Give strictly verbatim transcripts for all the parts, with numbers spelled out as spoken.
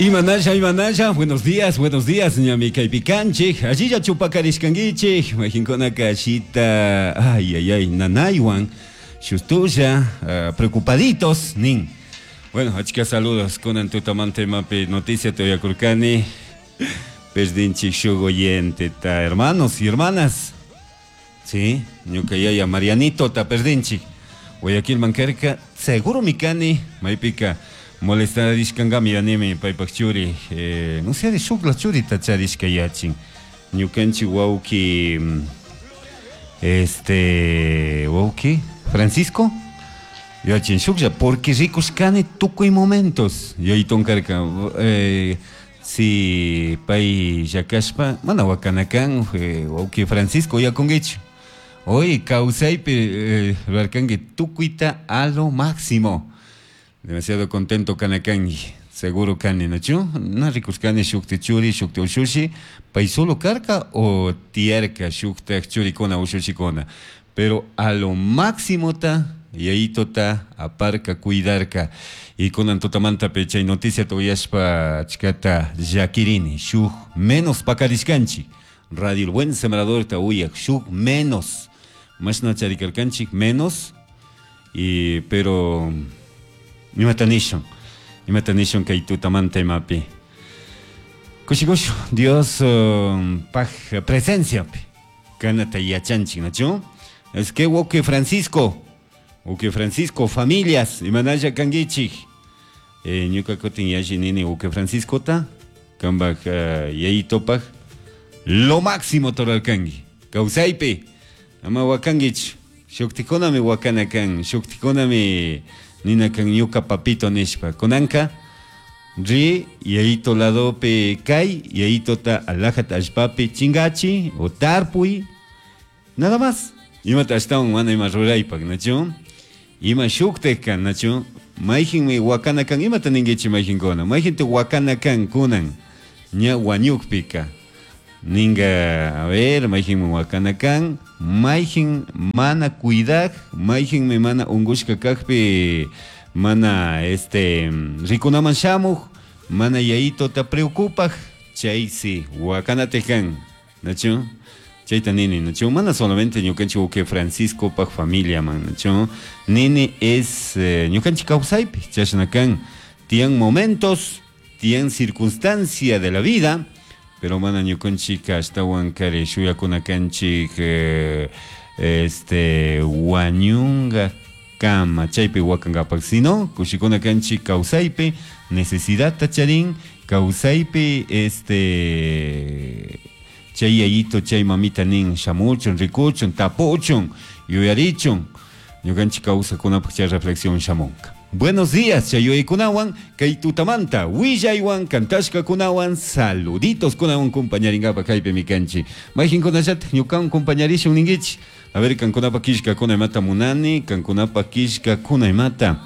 Imanalla, Imanalla, buenos días, buenos días, ñami kaypi kanchik, allilla chupakarishkankichik, mayqinkunaka ashita, ay, ay, ay, nanaywan, shustulla, uh, preocupaditos, nin. Bueno, achka saludos, kunan tutamanta imapi noticia uyakurkani, perdinchik shuk oyente, ta hermanos y hermanas, sí, ñuka yaya Marianito ta perdinchik, Guayaquil mankarka, seguro mi kani, maypika, molestarishkankami yanimi paypak churi, eh, no sé, shukla churita charishka yachin, ñukanchik wawki, este, wawki, Francisco, yachin shuklla, porque rikushkani tukuy momentos, yayton karka, eh, si pay llakashpa, mana wakanakan, eh, wawki Francisco uyakunkichu. Hoy kawsaypi eh, rurarkanki tukuyta a lo máximo. Demasiado contento kanakanki, seguro kani, ¿nachu? Na rikushkani shukti churi, shukti ushushi, pay solo karka o tiyarka shuktak churikuna ushushikuna. Pero a lo máximo ta, yayitota aparka cuidarka. Y kunan tutamantapi chay noticia uyashpa achkata llakirini, shuk menos pakarishkanchik. Radio El Buen Sembrador ta uyak, shuk menos. Mashna charikarkanchik menos, y pero imata nishun, imata nishun kay tutamanta imapi. Kushikush, Dios um, paj presenciapi, kanata yachanchik, ¿nachu? Es que wawki Francisco, wawki Francisco, familias, imanalla kankichik. Eh, ñuka kutin yalli nini wawki Franciscota, kambaj uh, yayitopaj, lo máximo torarkanki, kawsaypi, ama wakankichu, shuktikunami wakana kan, shuktikunami nina kan ñuka papito nishpa, kunanka, ri yayito ladopi kay, yayitota alajata allpapi chingachi o tarpuy, nada más. Imata ashtawan mana ima ruraypak, ¿nachu? Ima shuktek kan, ¿nachu? Mayqinmi wakana kan, imata ninkichik mayqinkuna, mayqinta wakana kan kunan, ña wañukpika. Ninga, a ver, mayqinmi wakana kan, mayqin mana cuidak, mayqinmi mana unqushka kaqpi, mana este rikunaman shamuq, mana yayitota preocupaq, chaysi wakanatik kan, ¿nachu? Chayta nini, ¿nachu? Mana solamente ñukanchik wawqi Franciscopaq familiaman, ¿nachu? Nini es eh, ñukanchik kawsaypi, chashna kan, tiyan momentos, tiyan circunstancia de la vida, pero mana ñukanchik ashtawan kari shuyakuna kanchik eh, este wañunga kama chaypi wakankapak, sino kushikuna kanchik kawsaypi necesidadta charin, kawsaypi este chay yayito chay mamita nin shamuchun, rikuchun, tapuchun, yuyarichun, ñukanchik kawsakunapaq chay reflexión shamunka. Buenos días, chay yuyaykunawan, kay tutamanta, willaywan, kantashkakunawan, saluditos kunawan compañarinkapak kaypi mi kanchik. Mayqinkunallatak ñukawan compañarishun ninkichik. A ver, kankunapa killkakuna imata munani, kankunapa killkakuna imata.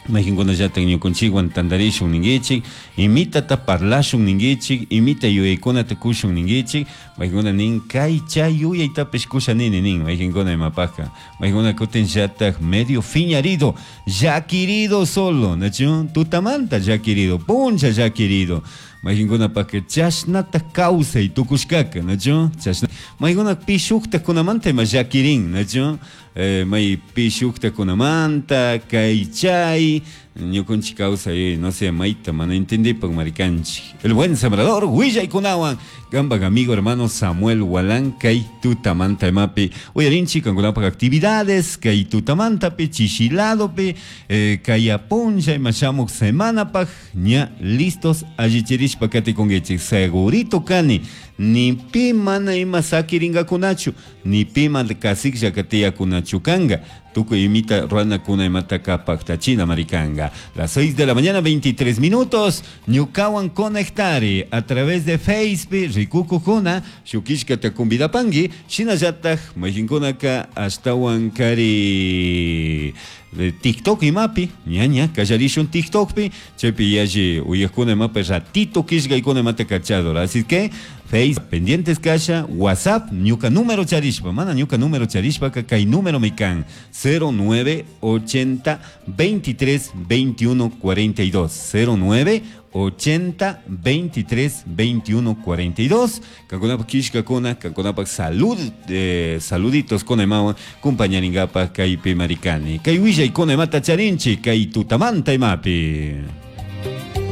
Mayqinkunallatak ñukanchikwan tantarishun ninkichik, imitata parlashun ninkichik, imita yuyaykunata kushun ninkichik, mayqinkuna nin kay chay yuyaytapish kusha nini nin, mayqinkuna imapajka, mayqinkuna kutin llatak medio fiñarido, llakirido solo, ¿nachu? Tutamanta llakirido, puncha llakirido, mayqinkunapajka chashnata kawsay tukushkaka, ¿nachu? Chashna, mayqinkuna pi shuktakunamanta ima llakirin, ¿nachu? Eh, may pi shuktakunamanta, kay chay, ñukanchik kawsay, no sé, mayta mana entendipak marikanchik. El Buen Sembrador, willaykunawan, kampak amigo hermano Samuel Walán, kay tutamanta imapi, uyarinchik kankunapak actividades, kay tutamantapi, chishiladopi, eh, kay apuncha ima shamuk semanapak, ña listos allichirishpa katikunkichik, segurito kani, ni pi mana ima sakirinkakunachu, ni pi mana kasiklla katiyakunachu kanka, tukuy imita ruranakuna imata paktachina marikanga. Las seis de la mañana, veintitrés minutos, ñukawan conectari a través de Facebook, rikukukuna, shukishkata convidapanki, shinallatak mayqinkunaka ashtawan kari de TikTok imapi, ñaña, kallarishun TikTokpi, chaypi yalli uyakuna imapi ratito killkaykuna imata kachador. Así que Facebook pendientes kasha, WhatsApp ñuka número charishpa, mana ñuka número charishpaka kay número mi kan cero nueve ochenta veintitrés veintiuno cuarenta y dos, cero nueve ochenta veintitrés veintiuno cuarenta y dos. Kankunapak kishkakuna, kankunapak salud, eh, saluditos con emawan compañaringapa kaypi maricani. Kay willaykuna imata charinchi kay tutamanta imapi.